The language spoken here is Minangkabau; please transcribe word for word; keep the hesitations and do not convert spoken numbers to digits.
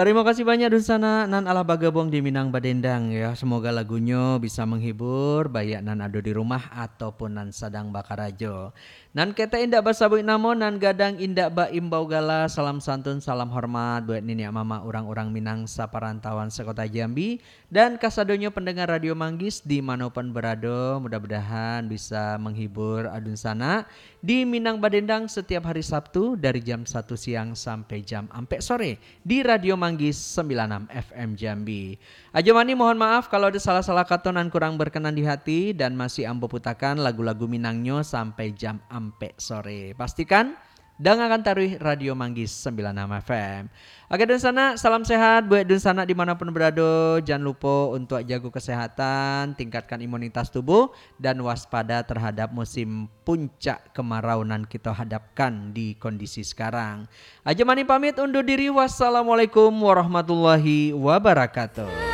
Tarimo kasih banyak dunsanak nan alah bagabuang di Minang Badendang, ya. Semoga lagunyo bisa menghibur, baiak nan ado di rumah ataupun nan sadang bakarajo. Nan ketek indak basabuik namo, nan gadang indak baimbau gala, salam santun, salam hormat buat niniak mamak urang-urang Minang saparantauan sakota Jambi, dan kasadonyo pendengar Radio Manggis di mano pun berado, mudah-mudahan bisa menghibur dunsanak di Minang Badendang setiap hari Sabtu dari jam satu siang sampai jam ampek sore di Radio Manggis sembilan enam F M Jambi. Ajo Mani, mohon maaf kalau ada salah-salah kato nan kurang berkenan di hati, dan masih ambo putakan lagu-lagu Minangnyo sampai jam ampek sore. Pastikan dangakan taruih Radio Manggis sembilan enam F M. Oke, dunsanak, salam sehat buat dunsanak di mano pun berado. Jan lupo untuk jago kesehatan, tingkatkan imunitas tubuh, dan waspada terhadap musim puncak kemarau nan kito hadapkan di kondisi sekarang. Ajo Mani pamit undur diri. Wassalamualaikum warahmatullahi wabarakatuh.